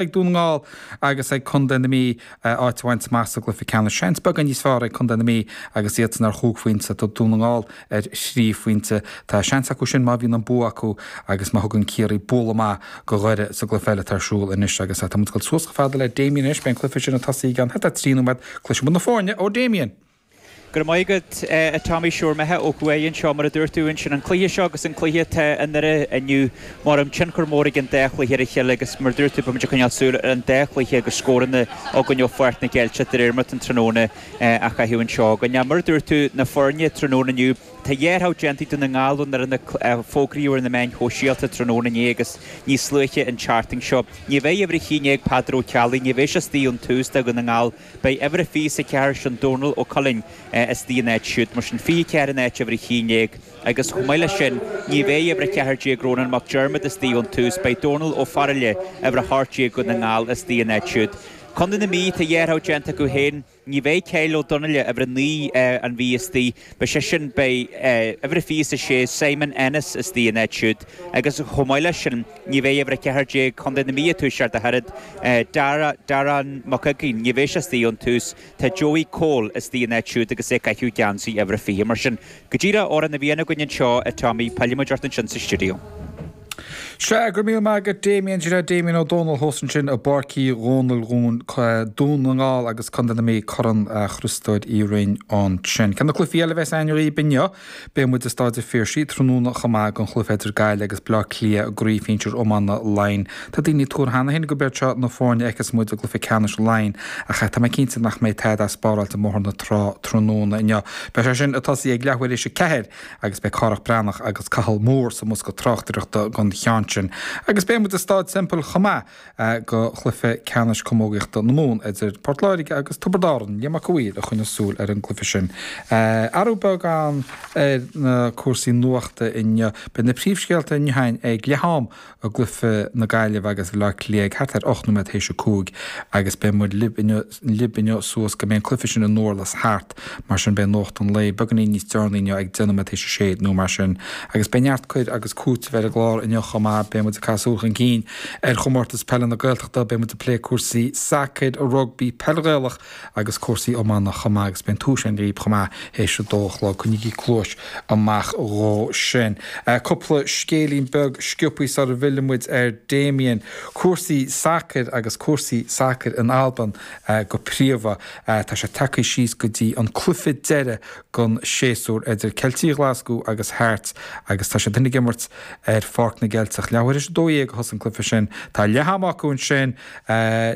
Ag Dún na nGall agus ag Contae na Mí áit a bhaint amach sa gcluiche ceannais. Seans beagán níos fearr ag Contae na Mí agus iadsan ar chúig phointe, tá Dún na nGall ar thrí phointe. Tá seans acu sin má bhíonn an bua acu agus má thugann Ciarraí bualadh maith go Dhoire sa gcluiche eile atá ar siúl anois agus tá muid ag dul suas chomh fada le Damien anois. Beidh an cluiche sin ag tosaí i gceann thart ar thrí nóiméad. Cloisfidh muid na foirne ó Damien. Go raibh maith agat, a Tommy. Sure, imithe ó thuaidh anseo, mar a dúirt tú ansin, an cluiche seo agus an cluiche atá i nDoire inniu, mar tionchar mór ag an dá chluiche ar a chéile agus mar a dúirt tú, beimid ag coinneáil súil ar an dá chluiche agus scóranna againn ó Pháirc na gCeilteach de réir mar atá an tráthnóna á chaitheamh anseo againn. Mar a dúirt tú, na foirne tráthnóna inniu, tá dhá rogha déanta ag Dún na nGall ón fhoireann a fógraíodh ar na meáin shóisialta tráthnóna inné agus níos luaithe an tseachtain seo. Ní bheidh uimhir 11 Peadar Ó Ceallaigh, ní bheidh sé istigh ón tús do Dhún na nGall. Beidh uimhir a 24 sin Dónal Ó Cuilinn istigh ina áit siúd, mar sin 24 in áit uimhir 11 agus chomh maith leis sin ní bheidh uimhir 14 Rónán Mac Diarmada istigh ón tús, beidh Dónal Ó Faraile, uimhir 18 Dhún na nGall istigh ina áit siúd. Contae na Mí, tá dhá rogha déanta acu féin, ní bheidh Kyle Ó Donnaile, uimhir 9 an Mhí istigh, beidh sé sin, beidh uimhir 26 Simon Ennis istigh ina áit siúd agus chomh maith leis sin, Ní bheidh uimhir 14 Contae na Mí ag toiseacht ach oiread. Darragh Mac Uiginn, ní bheidh sé istigh ón tús. Tá Joey Cole istigh ina áit siúd agus é ag caitheamh geansaí uimhir a 20. Mar sin, go díreach amhrán a bhíonn againn anseo, a Tommy, pillfidh muid ort ansin sa stiúideo. Sea, go raibh míle maith agat Damien, sin é Damien Ó Dónaill thuas ansin i bPáirc Uí Dhónaill Dhún na nGall agus Contae na Mí, Corn Chriostóir Uí Rinn ansin. Ceann de na cluichí eile a bheas againn dhaoib inniu, Beidh muid i Staid an Phiarsaigh tráthnóna chomh maith don chluiche idir Gaillimh agus Bleá Cliath i gCraobh Shinsir Iomána Laighean. Tá daoine ag tuar cheana féin gurb iad seo na foirne a fheicfeas muid i gcluiche ceannais Laighean ach tá mé cinnte nach mbeidh tada spáráilte i mBóthar na Trá tráthnóna inniu. Beidh sé sin ag tosaí ag leathuair théis 4 agus beidh Cárthach Breathnach agus Cathal Moore sa mbosca tráchtaireachta don cheann sin. Agus beidh muid i Staid Semple chomh maith. do chluiche ceannais camógaíochta na Mumhan idir Port Láirge agus Tiobraid Árann, Liam Mac a' Mhaoir a choinneos súil ar an gcluiche sin. Athrú beag ann ar na cúrsaí nuachta inniu. Beidh na príomhscéalta inniu againn ag leath am i gcluiche na Gaillimhe agus Bhaile Átha Cliath ag thart ar 8 nóiméad théis 5 agus beidh muid libh inniu suas go mbeidh an cluiche sin i nDurlas thart. Mar sin beidh nuacht an lae beagáinín níos deireanaí inniu ag 10 nóiméad théis a sé nó mar sin. Agus beidh neart cur agus cúiteamh ar an gclár inniu chomh maith. Beidh muid ag caitheamh súil chun cinn ar chomórtas peile na Gaeltachta, beidh muid ag plé cúrsaí sacair, rugbaí, peil Ghaelach agus cúrsaí iomána chomh maith agus beidh an tomhas againn dhaoib chomh maith théis a dó a chlog. Coinnígí cluais amach dhó sin. Cúpla scéilín beag sciobthaí sara bhfilleann muid ar Damien. Cúrsaí sacair agus cúrsaí sacair in Albain go príomha. Tá sé tagtha síos go dtí an cluiche deiridh den séasúr idir Ceiltigh Ghlaschú agus Hearts agus tá siad ag imirt ar Pháirc na gCeilteach. Leathuair théis 12 a thosaigh an cluiche sin. Tá leath ama acu ansin.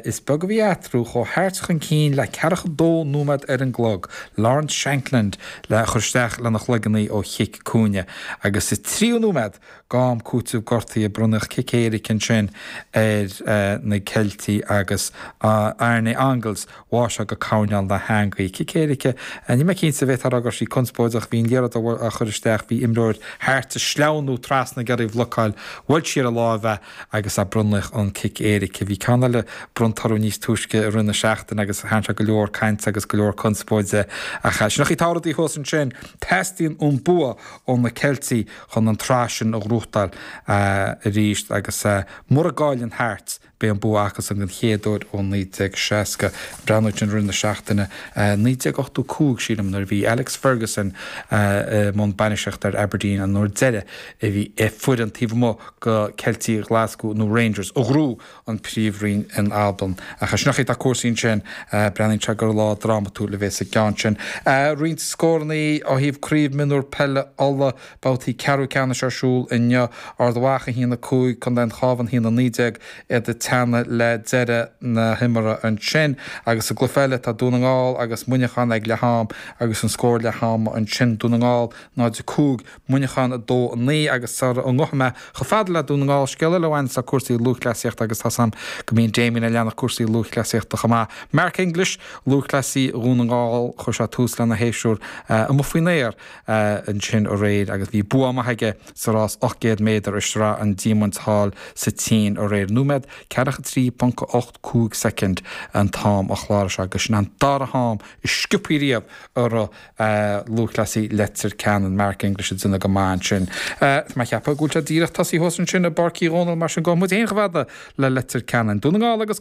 Is beag a bhí eatarthu. Chuaigh Hearts chun cinn le ceathracha dó nóiméad ar an gclog. Lawrence Shankland le chur isteach lena chloigeann í ó chic cúinne agus sa tríú nóiméad d'am cúitimh gortaithe bronnadh cic éirice ansin ar na Ceiltigh agus Arne Engels bháigh sé go coirnéal na heangaí. Cic éirice, níl mé cinnte, bhféadfá a rá go raibh sí conspóideach, bhí an liathróid á chur isteach, bhí imreoir Hearts ag sleamhnú trasna ag iarraidh í a bhlocáil, bhuail sí ar a láimh é agus bronnadh an cic éirice. Bhí ceann eile bronnta orthu níos túisce i rith na seachtaine agus tharraing sé go leor cainte agus go leor conspóide ach sin an chaoi atá rudaí thuas ansin. Teastaíonn an bua ó na Ceiltigh chun an tsraith sin a ghnóthachtáil arís agus mura gcailleann Hearts, beidh an bua acusan den chéad uair ó 1960. Breathnú ansin i rith na seachtaine, 1985 sílim, nuair a bhí Alex Ferguson i mbun bainistíochta ar Aberdeen an uair deiridh a bhí foireann taobh amuigh de Ceiltigh Ghlaschú nó Rangers a ghnóthaigh an Príomhroinn in Albain. Ach sin an chaoi atá cúrsaí ansin, breathnaíonn sé gur lá drámatúil a bheas sa gceann sin. Roinnt scórannaí ó thaobh Craobh Mionúr Peile Uladh, babhtaí ceathrú ceannais ar siúl inniu. Ard Mhacha 1, 5, Contae an Chabháin 1, 19, iad ag teannadh le deireadh na himeartha ansin. Agus sa gcluiche eile tá Dún na nGall agus Muineachán ag leath am agus an scór leath ama ansin, Dún na nGall 0, 5, Muineachán 2, 9 agus sara ngabhfaidh mé chomh fada le Dún na nGall, scéal eile a bhaineas le cúrsaí lúthchleasaíochta agus tá's a'm go mbíonn Damien ag leanacht cúrsaí lúthchleasaíochta chomh maith. Mark English, lúthchleasaí Dhún na nGall, chuir sé tús lena shéasúr amuigh faoin aer ansin aréir agus bhí bua maith aige sa rás 800 méadar i Sraith an Diamaint thall sa tSín aréir. Nóiméad. 43.85 soicind an t-am a chláraigh sé agus sin an dara ham is sciobthaí riamh a rith lúthchleasaí Leitir Ceanainn, Mark English ag déanamh go maith ansin. Tá mé ag ceapadh go bhfuil sé díreach tosaithe thuas ansin i bPáirc Uí Dhónaill mar sin gabhfaidh muid féin chomh fada le Leitir Ceanainn. Dún na nGall agus.